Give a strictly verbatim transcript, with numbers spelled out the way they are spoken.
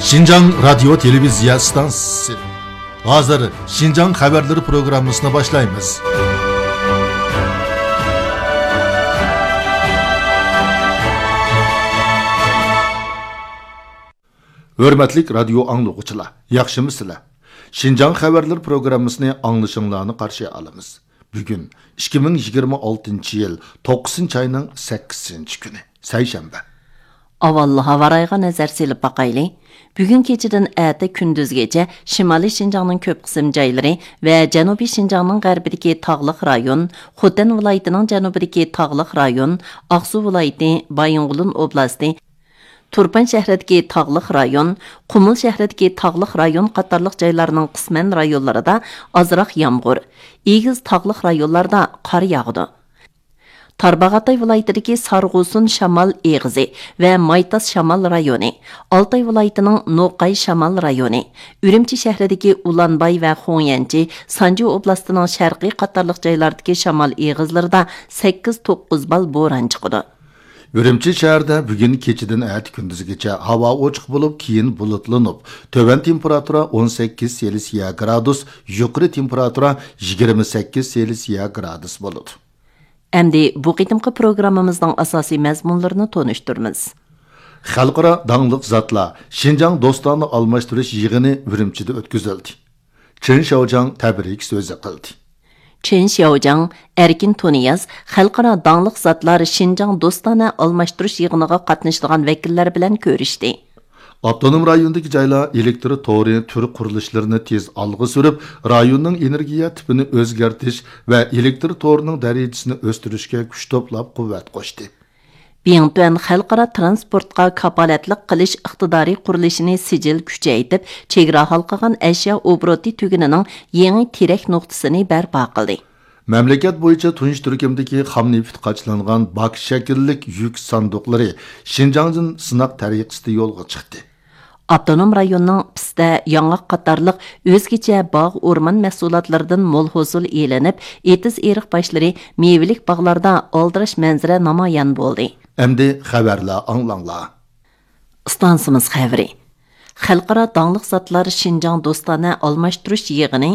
شىنجاڭ رادىيو تېلېۋىزىيە ئىستانسىسى. ھازىر شىنجاڭ خەۋەرلىرى پروگراممىسىنى باشلايمىز. ھۆرمەتلىك رادىيو ئاڭلىغۇچىلار، ياخشىمۇسىلەر؟ شىنجاڭ خەۋەرلىرى پروگراممىسىنى ئاڭلىشىڭلارنى قارشى ئالىمىز. بۈگۈن ئىككى مىڭ يىگىرمە ئالتىنچى يىل توققۇزىنچى ئاينىڭ سەككىزىنچى كۈنى، سەيشەنبە. ئاۋۋال ھاۋا رايىغا نەزەر سېلىپ باقايلى. بۈگۈن كېچىدىن ئەتە كۈندۈزگىچە شىمالىي شىنجاڭنىڭ كۆپ قىسىم جايلىرى ۋە جەنۇبىي شىنجاڭنىڭ غەربىدىكى تاغلىق رايون، خوتەن ۋىلايىتىنىڭ جەنۇبىدىكى تاغلىق رايون، ئاقسۇ ۋىلايىتى، بايىنغولىن ئوبلاستى، تۇرپان شەھىرىدىكى تاغلىق رايون، قۇمۇل شەھىرىدىكى تاغلىق رايون قاتارلىق جايلارنىڭ قىسمەن رايونلىرىدا ئازراق يامغۇر، ئېگىز تاغلىق رايونلاردا قار ياغىدۇ. تارباغاتاي ۋىلايىتىدىكى سارغۇسۇن شامال ئېغىزى ۋە مايتاس شامال رايونى، ئالتاي ۋىلايىتىنىڭ نوقاي شامال رايونى، ئۈرۈمچى شەھىرىدىكى ئۇلانباي ۋە خۇڭيەنچى، سانجى ئوبلاستىنىڭ شەرقىي قاتارلىق جايلاردىكى شامال ئېغىزلىرىدا سەككىز توققۇز بال بوران چىقىدۇ. ئۈرۈمچى شەھىرىدە بۈگۈن كېچىدىن ئەتە كۈندۈزگىچە ھاۋا ئوچۇق بولۇپ، كېيىن بۇلۇتلىنىپ، تۆۋەن تېمپېراتۇرا ئون سەككىز سېلسىيە گرادۇس، يۇقىرى تېمپېراتۇرا يىگىرمە سەككىز سېلسىيە گرادۇس بولىدۇ. ئەمدى بۇ قېتىمقى پروگراممىمىزنىڭ ئاساسىي مەزمۇنلىرىنى تونۇشتۇرىمىز. خەلقئارا داڭلىق زاتلار شىنجاڭ دوستانە ئالماشتۇرۇش يىغىنى ئۈرۈمچىدە ئۆتكۈزۈلدى. چېن شياۋجياڭ تەبرىك سۆزى قىلدى. چېن شياۋجياڭ، ئەركىن تۇنىياز خەلقئارا داڭلىق زاتلار شىنجاڭ دوستانە ئالماشتۇرۇش يىغىنىغا قاتنىشىدىغان ۋەكىللەر بىلەن كۆرۈشتى. ئاپتونوم رايوندىكى جايلار ئېلېكتر تورى تۈر قۇرۇلۇشلىرىنى تېز ئالغا سۈرۈپ، رايوننىڭ ئېنېرگىيە تىپىنى ئۆزگەرتىش ۋە ئېلېكتر تورىنىڭ دەرىجىسىنى ئۆستۈرۈشكە كۈچ توپلاپ قۇۋۋەت قوشتى. بىڭتۈەن خەلقئارا تىرانسپورتقا كاپالەتلىك قىلىش ئىقتىدارى قۇرۇلۇشىنى سىجىل كۈچەيتىپ، چېگرا ھالقىغان ئەشيا ئوبوروتى تۈگۈنىنىڭ يېڭى تىرەك نۇقتىسىنى بەرپا قىلدى. مەملىكەت بويىچە تۇنجى تۈركۈمدىكى خام نېفىت قاچىلانغان باك شەكىللىك يۈك ساندۇقلىرى شىنجاڭدىن سىناق تەرىقىسىدە يولغا چىقتى. ئاپتونوم رايوننىڭ پىستە، ياڭاق قاتارلىق ئۆزگىچە باغ، ئورمان مەھسۇلاتلىرىدىن مول ھوسۇل ئېلىنىپ، ئېتىز ئېرىق باشلىرى، مېۋىلىك باغلاردا ئالدىراش مەنزىرە نامايان بولدى. ئەمدى خەۋەرلەر ئاڭلاڭلار. ئىستانسىمىز خەۋىرى. خەلقئارا داڭلىق زاتلار شىنجاڭ دوستانە ئالماشتۇرۇش يىغىنى